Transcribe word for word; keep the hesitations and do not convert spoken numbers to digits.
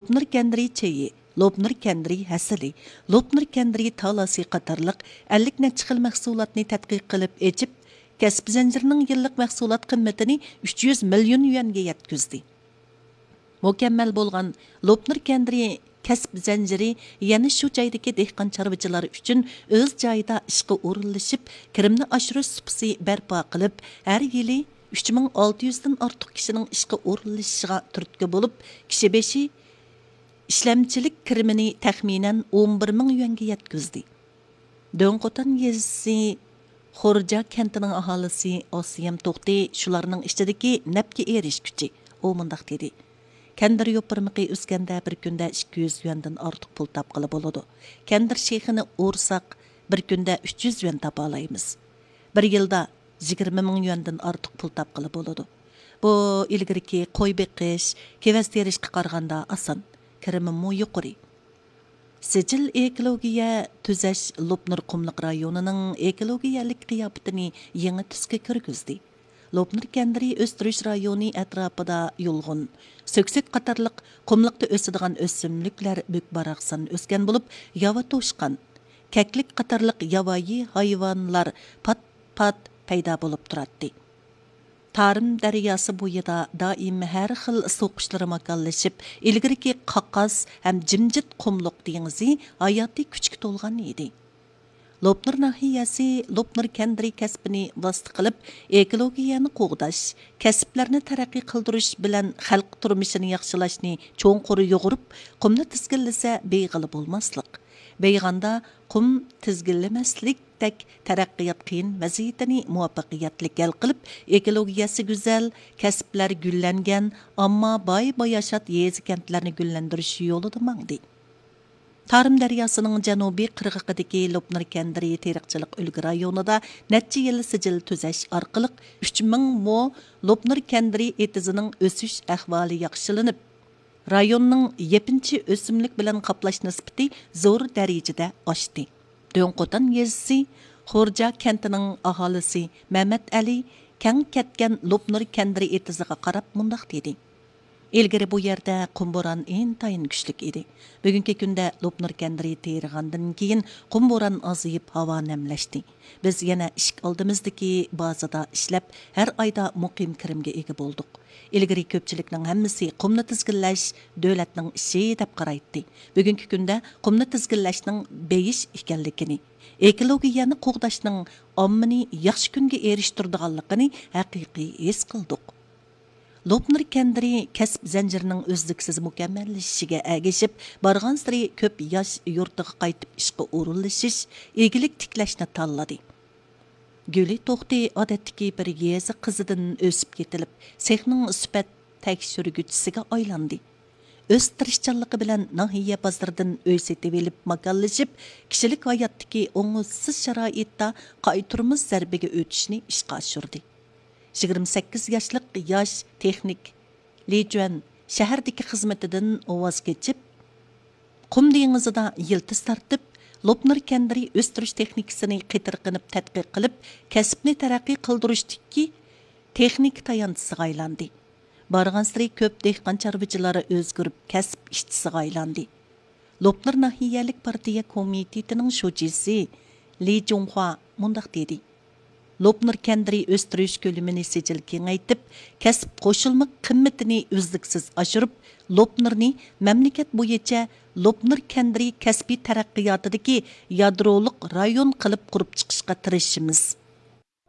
لوپنۇر كەندىرى چېيى، لوپنۇر كەندىرى ھەسىلى، لوپنۇر كەندىرى تالاسى قاتارلىق ئەللىك نەچچە خىل مەھسۇلاتنى تەتقىق قىلىپ ئېچىپ، كەسىپ زەنجىرىنىڭ يىللىق مەھسۇلات قىممىتىنى ئۈچ يۈز مىليون يۈەنگە يەتكۈزدى. مۇكەممەل بولغان لوپنۇر كەندىرى كەسىپ زەنجىرى يەنە شۇ جايدىكى دېھقان چارۋىچىلار ئۈچۈن ئۆز جايىدا ئىشقا ئورۇنلىشىپ، كىرىمنى ئاشۇرۇش سۇپىسى بەرپا قىلىپ، ھەر يىلى ئۈچ مىڭ ئالتە يۈزدىن ئارتۇق كىشىنىڭ ئىشقا ئورۇنلىشىشىغا تۈرتكە بولۇپ، كىشى بېشى ئىشلەمچىلىك كىرىمىنى تەخمىنەن ئون بىر مىڭ يۈەنگە يەتكۈزدى. دۆڭقوتان يېزىسى خورجا كەنتىنىڭ ئاھالىسى ئاسىيەم توختى شۇلارنىڭ ئىچىدىكى نەپكە ئېرىشكۈچى. ئۇ مۇنداق دېدى: كەندىر يوپۇرمىقى ئۆسكەندە بىر كۈندە ئىككى يۈز يۈەندىن ئارتۇق پۇل تاپقىلى بولىدۇ. كەندىر شېخىنى ئورساق، بىر كۈندە ئۈچ يۈز يۈەن تاپالايمىز. بىر يىلدا يىگىرمە مىڭ يۈەندىن ئارتۇق پۇل تاپقىلى بولىدۇ. بۇ ئىلگىرىكى قوي بېقىش، كېۋەز تېرىشقا قارىغاندا ئاسان، كىرىمىمۇ يۇقىرى. سىجىل ئېكولوگىيە تۈزەش لوپنۇر قۇملۇق رايونىنىڭ ئېكولوگىيەلىك قىياپىتىنى يېڭى تۈسكە كىرگۈزدى. لوپنۇر كەندىرى ئۆستۈرۈش رايونى ئەتراپىدا يۇلغۇن، سۆكسەك قاتارلىق قۇملۇقتا ئۆسىدىغان ئۆسۈملۈكلەر بۈك-باراقسان ئۆسكەن بولۇپ، ياۋا توشقان، كەكلىك قاتارلىق ياۋايى ھايۋانلار پات-پات پەيدا بولۇپ تۇراتتى. تارىم دەرياسى بويىدا دائىم ھەر خىل سۇ قۇشلىرى ماكانلىشىپ، ئىلگىرىكى قاقاس ھەم جىمجىت قۇملۇق دېڭىزى ھاياتىي كۈچكە تولغان ئىدى. لوپنۇر ناھىيەسى لوپنۇر كەندىرى كەسپىنى ۋاسىتە قىلىپ، ئېكولوگىيەنى قوغداش، كەسىپلەرنى تەرەققىي قىلدۇرۇش بىلەن خەلق تۇرمۇشىنى ياخشىلاشنى چوڭقۇر يۇغۇرۇپ، قۇمنى تىزگىنلىسە بېيىغىلى بولماسلىق. بېيىغاندا قۇم تىزگىنلىمەسلىكتەك تەرەققىيات قىيىن ۋەزىيىتىنى مۇۋەپپەقىيەتلىك ھەل قىلىپ، ئېكولوگىيەسى گۈزەل، كەسىپلەر گۈللەنگەن، ئامما باي-باياشات يېزا-كەنتلەرنى گۈللەندۈرۈش يولىدا ماڭدى. تارىم دەرياسىنىڭ جەنۇبىي قىرغىقىدىكى لوپنۇر كەندىرى تېرىقچىلىق ئۈلگە رايونىدا نەچچە يىل سىجىل تۈزەش ئارقىلىق ئۈچ مىڭ مو لوپنۇر كەندىرى ئېتىزىنىڭ ئۆسۈش ئەھۋالى ياخشىلىنىپ، رايوننىڭ يېپىنچى ئۆسۈملۈك بىلەن قاپلاش نىسبىتى زور دەرىجىدە ئاشتى. دۆڭقوتان يېزىسى خورجا كەنتىنىڭ ئاھالىسى مەمەت ئەلى كەڭ كەتكەن لوپنۇر كەندىرى ئېتىزىغا قاراپ مۇنداق دېدى: ئىلگىرى بۇ يەردە قۇم بوران ئىنتايىن كۈچلۈك ئىدى. بۈگۈنكى كۈندە لوپنۇر كەندىرى تېرىغاندىن كېيىن قۇم بوران ئازىيىپ، ھاۋا نەملەشتى. بىز يەنە ئىشىك ئالدىمىزدىكى بازىدا ئىشلەپ، ھەر ئايدا مۇقىم كىرىمگە ئىگە بولدۇق. ئىلگىرى كۆپچىلىكنىڭ ھەممىسى قۇمنى تىزگىنلەش دۆلەتنىڭ ئىشى دەپ قارايتتى. بۈگۈنكى كۈندە قۇمنى تىزگىنلەشنىڭ بېيىش ئىكەنلىكىنى، ئېكولوگىيەنى قوغداشنىڭ ئاممىنى ياخشى كۈنگە ئېرىشتۈرىدىغانلىقىنى ھەقىقىي ھېس قىلدۇق. لوپنۇر كەندىرى كەسىپ زەنجىرىنىڭ ئۈزلۈكسىز مۇكەممەللىشىشىگە ئەگىشىپ، بارغانسېرى كۆپ ياش يۇرتىغا قايتىپ ئىشقا ئورۇنلىشىش، ئىگىلىك تىكلەشنى تاللىدى. گۈلى توختى ئادەتتىكى بىر يېزا قىزىدىن ئۆسۈپ يېتىلىپ، سېخنىڭ سۈپەت تەكشۈرگۈچىسىگە ئايلاندى. ئۆز تىرىشچانلىقى بىلەن ناھىيە بازىرىدىن ئۆي سېتىۋېلىپ ماكانلىشىپ، كىشىلىك ھاياتتىكى ئوڭۇشسىز شارائىتتا قايتۇرمىسىز زەربىگە ئۆتۈشنى ئىشقا ئاشۇردى. يىگىرمە سەككىز ياشلىق ياش تېخنىك لى جۈەن شەھەردىكى خىزمىتىدىن ۋاز كېچىپ، قۇم دېڭىزىدا يىلتىز تارتىپ، لوپنۇر كەندىرى ئۆستۈرۈش تېخنىكىسىنى قېتىرقىنىپ تەتقىق قىلىپ، كەسىپنى تەرەققىي قىلدۇرۇشتىكى تېخنىكا تايانچىسىغا ئايلاندى. بارغانسېرى كۆپ دېھقان چارۋىچىلار ئۆزگىرىپ، كەسىپ ئىشچىسىغا ئايلاندى. لوپنۇر ناھىيەلىك پارتىيە كومىتېتىنىڭ شۇجىسى لى جۇڭخۇا مۇنداق دېدى: لوپنۇر كەندىرى ئۆستۈرۈش كۆلىمىنى سىجىل كېڭەيتىپ، كەسىپ قوشۇلما قىممىتىنى ئۈزلۈكسىز ئاشۇرۇپ، لوپنۇرنى مەملىكەت بويىچە لوپنۇر كەندىرى كەسپىي تەرەققىياتىدىكى يادرولۇق رايون قىلىپ قۇرۇپ چىقىشقا تىرىشىمىز.